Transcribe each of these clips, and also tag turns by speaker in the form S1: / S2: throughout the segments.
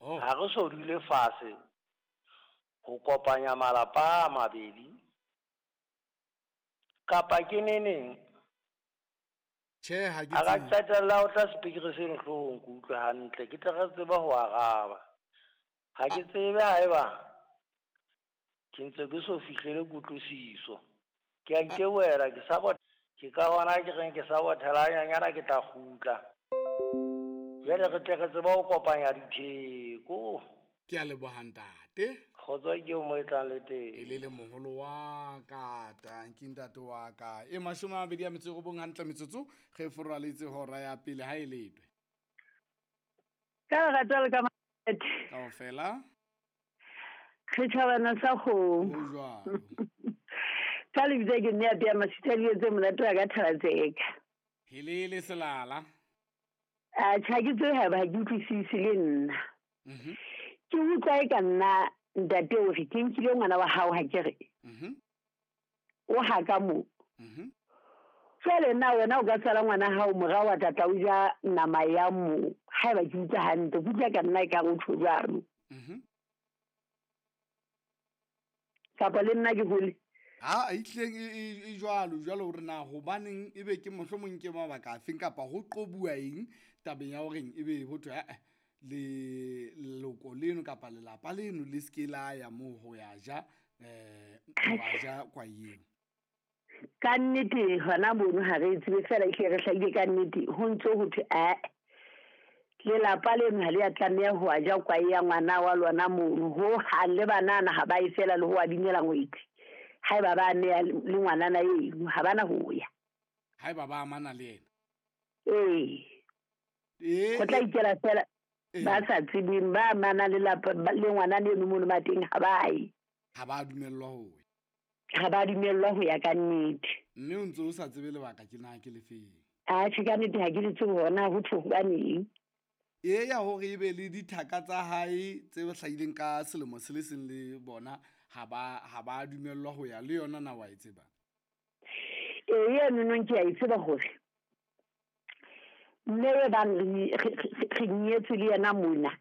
S1: Oh.
S2: Ha re so dule fatshe ho kopanya malapa a mabedi kapa ke neneng?
S1: Tjhe, ha ke
S2: A ka
S1: tsebe.
S2: qetella o tla sepikiri seno hloohong ke utlwe hantle, ke tle re tsebe ho araba. Ha ke tsebe haeba ke ntse ke so fihlele kutlwisiso. Ke a itebohela ke sa bot ke ka hona ke reng ke sa bothela hanyanyana ke tla kgutla. Jwale re tle re tsebe ho kopanya ditheko.
S1: Ke a leboha ntate.
S2: Kgotso ke eo mo e tlang le teng.
S1: E le le moholo wa ka, tanki ntate wa ka. E 29 hantle metsotso ge foraletse hora ya pele ha e letwe.
S3: Ka lerato le ka makgethe.
S1: Kaofela.
S3: Re tjhabana sa kgomo.
S1: Ho jwalo.
S3: Ka lebitso ke mme ya pea masitha dijo tse monate wa ka thaba tseka.
S1: Helele selala.
S3: Atjhe, ha ke tsebe haeba ha ke utlwisise le nna. Ke utlwa e ka nna ntate o re ke nkile ngwana wa hao ha ke re. O ha ka moo. Jwale na wena o ka tswala ngwana hao morao wa tata o ja nama ya moo. Haeba ke utlwa hantle, ke utlwa ka nna e kare o tjho jwalo. Kapa le nna ke hole.
S1: Ha e tlileng e jwalo jwalo hore na hobaneng ebe ke mohlomong ke mabaka afeng kapa ho qobuwa eng tabeng ya horeng ebe ho thwe eh leloko leno kapa lelapa leno le se ke la ya moo ho ya ja wa ja kwa eo.
S3: Ka nnete hona mono ha re tsebe fela ehlile re hlahile ka nnete ho ntso ho thwe lelapa leno ha le a tlameha ho ja kwa ya ngwana wa lona mono ho hang le banana ha ba e fela le ho a binela ngwetsi. Haeba ba ameha le ngwanana eno ha bana ho ya.
S1: Haeba ba amana le yena.
S3: Ee. Ho tla ikela fela ba sa tsebeng ba amana le lapa le ngwanana eno mono ba teng ha ba ye.
S1: Ha ba dumellwa ho ya.
S3: Ha ba dumellwa ho ya ka nnete.
S1: Mme o ntse o sa tsebe lebaka ke na ke lefeng.
S3: Atjhe ka nnete ha ke le tsebe hore na ho thwe hobaneng.
S1: E ya hore ebe le dithaka tsa hae tse hlahileng ka selemo se le seng le bona ha ba dumellwa ho ya le yona na wa e tseba?
S3: Ee, eno nong ke a e tseba hore mme e bang re nyetswe le yena mona.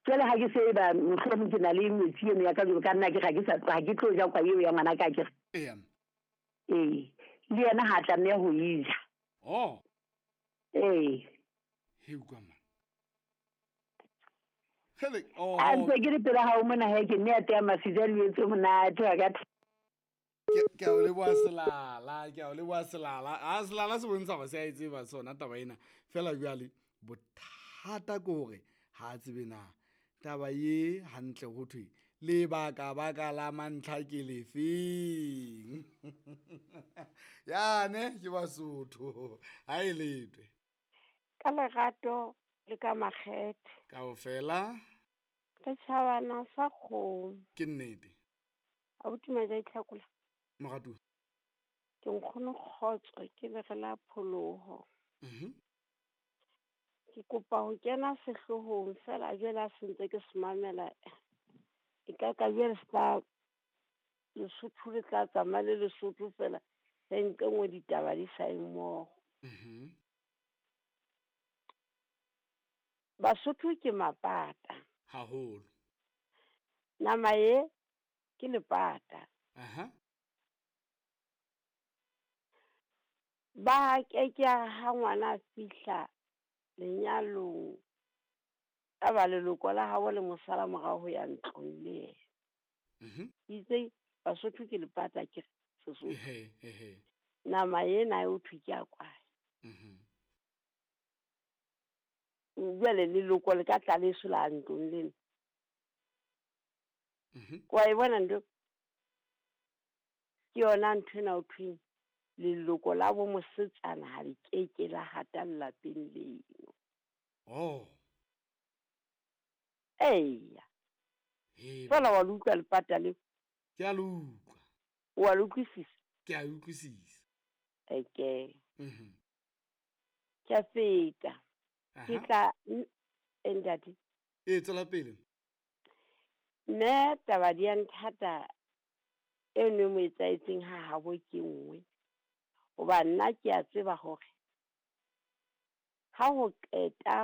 S3: Jwale ha ke se e ba mohlomong ke na le ngwetsi eno ya ka jwalo ka nna ke ha ke sa ha ke tlo ja kwa eo ya ngwana ka ke re.
S1: Eya.
S3: Ee, le yena ha tlameha ho e ja.
S1: Oh.
S3: Ee.
S1: He utlwa man. Hele, oh.
S3: A ntse ke le pela hao mona he ke nne ya tea masiza le etse monate wa ka.
S1: Ke a o leboha selala, ke a o leboha selala. A selala se bontsha hore se a e tseba sona taba ena. Fela jwale bothata ke hore ha a tsebe na taba ye hantle ho thwe lebaka baka la mantlha ke lefeng. Yane ke Basotho ha e letwe.
S4: Ka lerato le ka makgethe.
S1: Kaofela.
S4: Re tjhabana sa kgomo.
S1: Ke nnete.
S4: Abuti Maja Itlhakola.
S1: Moratuwa.
S4: Ke nkgono kgotso ke le re la pholoho. Ke kopa ho kena sehloohong fela jwale ha se ntse ke se mamela. E ka ka jwale se tla Lesotho le tla tsamaya le Lesotho fela. Re nke nngwe ditaba di sa ye mmoho. Basotho ke mapata.
S1: Haholo.
S4: Nama e ke lepata. Ba ke ke ha ngwana a fihla lenyalong ka ba leloko la habo le mosala morao ho ya ntlong le yena. Itse Basotho ke lepata ke Sesotho. Nama ena e o thwe ke ya kwae. Jwale leloko le ka tla leso la ntlong lena. Wa e bona ntho? Ke yona ntho ena ho thweng leloko la bo mosetsana ha le keke la hata lelapeng leno.
S1: Oh.
S4: Eya. Fela wa le utlwa lepata leo?
S1: Ke a le utlwa.
S4: Wa le utlwisisa?
S1: Ke a utlwisisa.
S4: Okay. Ke a feta. Ke tla ntate.
S1: E tswela pele.
S4: Mme taba di a nthata e nngwe mo etsaetseng ha habo ke nngwe. Hoba nna ke a tseba hore ha ho qeta